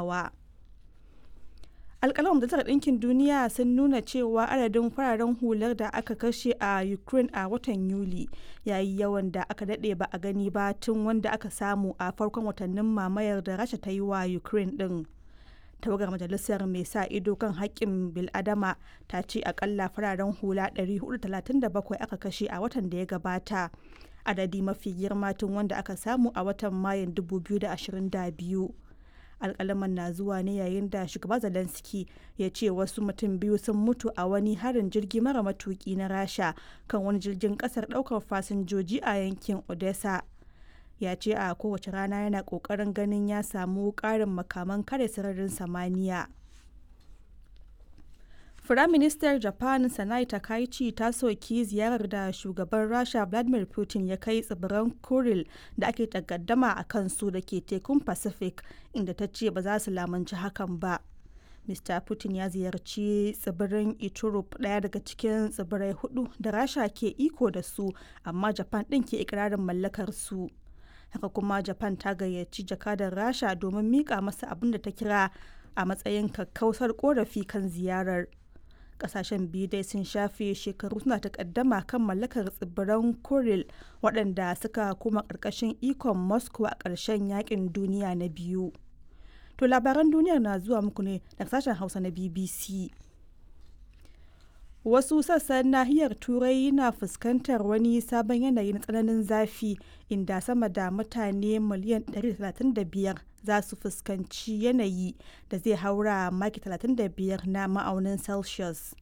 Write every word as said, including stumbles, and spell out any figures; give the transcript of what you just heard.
Tattaunawa. Alƙaluman Majalisar Ɗinkin Duniya sun nuna cewa adadin fararen hular da aka kashe a Ukraine a watan Yuli ya yi yawan da aka daɗe ba a gani ba tun wanda aka samu a farkon watannin mamayar da Rasha ta yi wa Ukraine ɗin. Tawagar majalisar mai sa ido kan haƙƙin bil'adama ta ce akalla fararen hula ɗari huɗu da talatin da bakwai aka kashe a watan da ya gabata, adadi mafi girma tun wanda aka samu a watan Mayun dubu biyu da ashirin da biyu. Alkalaman na zuwa ne yayin da Shugaba Zelensky ya ce wasu mutum biyu sun mutu a wani harin jirgi mara matuki na Rasha kan wani jirgin kasar daukar fasinjoji a yankin Odessa. Ya ce a kowace rana yana kokarin ganin ya samu karin makaman kare sararin samaniya. Firaministan Japan Sanai Takaichi ta soki ziyarar da shugaban Rasha Vladimir Putin ya kai tsibiran Kuril da ake takaddama a kansu da ke tekun Pacific, inda ta ce ba za su lamunci hakan ba. Mister Putin ya ziyarci tsibirin Iturup, ɗaya daga cikin tsibirai hudu da Rasha ke iko da su amma Japan ɗin ke ikirarin mallakar su. Haka kuma Japan ta gayyaci jakadar Rasha domin mika masa abin da ta kira a matsayin kakkausar korafi kan ziyarar. Kasashen biyu dai sun shafe shekaru suna takaddama kan mallakar tsibiran Kuril, waɗanda suka koma ƙarƙashin ikon Moscow a ƙarshen Yakin Duniya na Biyu. To, labaran duniyar na zuwa muku ne daga sashen Hausa na B B C. Wasu sassan nahiyar Turai na fuskantar wani sabon yanayi na tsananin zafi, inda sama da mutane miliyan ɗari da talatin da biyar za su fuskanci yanayi da zai haura maki talatin da biyar na ma'aunin Celsius.